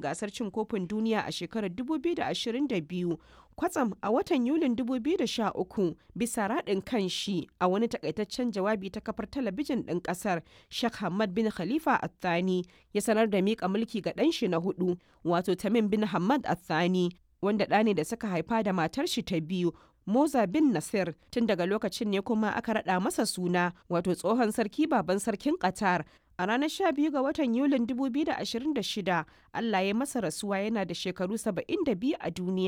Gasar Cin Kofin Duniya a shekarar 2022, kwatsam a watan Yulin 2013, bisa raɗin kan shi a wani takaitaccen jawabi ta kafar talabijin ɗin ƙasar, Sheikh Hamad bin Khalifa Al Thani ya sanar da miƙa mulki ga ɗan shi na huɗu, wato Tamim bin Hamad Al Thani, wanda ɗa ne da suka haifa da matar shi ta biyu, Moza bin Nasir. Tun daga lokacin ne kuma aka raɗa masa suna, wato tsohon sarki baban sarkin Qatar. A ranar 12 ga watan Yulin 2026, Allah ya masa rasuwa yana da shekaru 72 a duniya.